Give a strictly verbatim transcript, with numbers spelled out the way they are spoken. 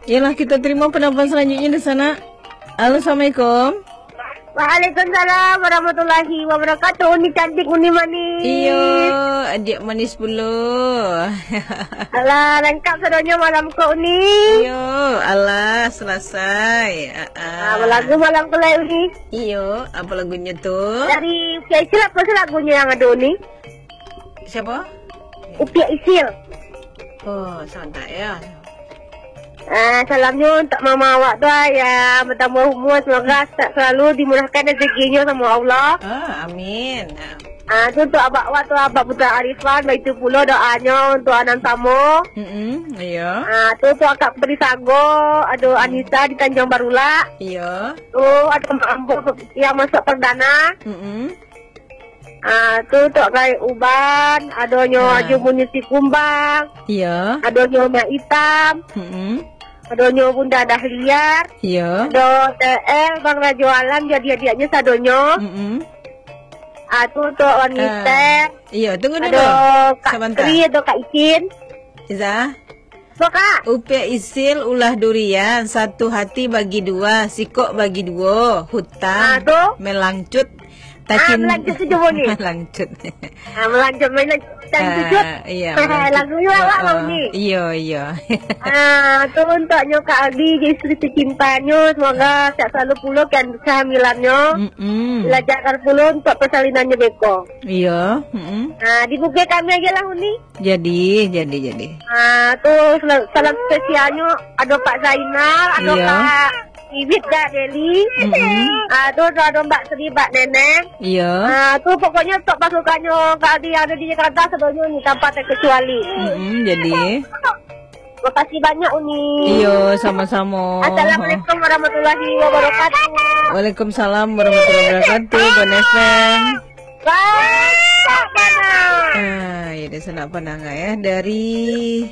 Yalah, kita terima penelpon selanjutnya di sana. Halo, assalamualaikum. Waalaikumsalam warahmatullahi wabarakatuh. Uni cantik, Uni manis. Iyo, adiak manis pulo. Alah, langkok sadonyo malam ko, Uni. Iyo, alah, selesai. Ah, ah. Ah, balagu malam ko lai, Uni. Iyo, apa lagunyo tu? Dari Upiak Isil, apa sih lagunyo yang ado, Uni? Siapa? Upiak Isil. Oh, santai ya. Ah, salamnyo untuk mama awak tu, ah, yang bertambah umur, semoga sehat selalu, dimurahkan rezekinyo sama Allah. Ah, amin. Ah, tu untuk abak awak tu, Abak Putra Arifan, baitu pulo doanyo untuk Anang Samo. Mm-mm, iya. Ah, tu untuk Akak Putri Sago, ado Anissa di Tanjung Barulak. Iya. Tu ado Mak Ambo yang masuk perdana. Mm-mm. Ah, tu Tok Gaek Uban, adonyo Ah. Haji Muni Sikumbang, Iya. adonyo Mak Itam, Mm-mm. adonyo Bunda Dahlia, Iya. ado T L, Bang Rajo Alam, jadi adiaknyo sadonyo. Mm-mm. Ah, tu Tok Wan Ah, Mister, iya, tunggu ado dulu. Kak Sabanta. Tri, ado Kak Icin. Iza. Apa, Kak? Upiak Isil ulah durian, satu hati bagi dua, sikok bagi duo, hutang, Ah, tu? Melangcut, Ah, tacin-, melangcut tu cubo ni. Melangcut. Ah, melangcut, melangcut, Ah, cucut. Iya, melangcut. Lagunyo awak Oh, mau ni. Iyo, iyo. Ah, tu untuknyo Kak Aldi, isteri tercintanyo, semoga sehat selalu pulo kan kehamilannyo. Mm-mm. Dilancarkan pulo untuk persalinannyo beko. Iyo, mm-mm. Ah, dibuka kami aja lah, Uni. Jadi, jadi, jadi. Ah, tu sel-, salam spesialnyo ado Pak Zainal, ado Iya. Kak Iwit, Kak Deli. Mm-mm. Ah, tu ado Mbak Sri, Mbak Neneng. Iya. Ah, tu pokoknyo untuk pasukannyo Kak Aldi yang ado di Jakarta sadonyo ni tanpa terkecuali. Mm-mm, jadi. Makasih banyak, Uni. Iyo, samo-samo. Assalamualaikum warahmatullahi wabarakatuh. Waalaikumsalam warahmatullahi wabarakatuh, Bon F M. Wah, tak panas. Ah, ya, dia sanak pandangar ya. Dari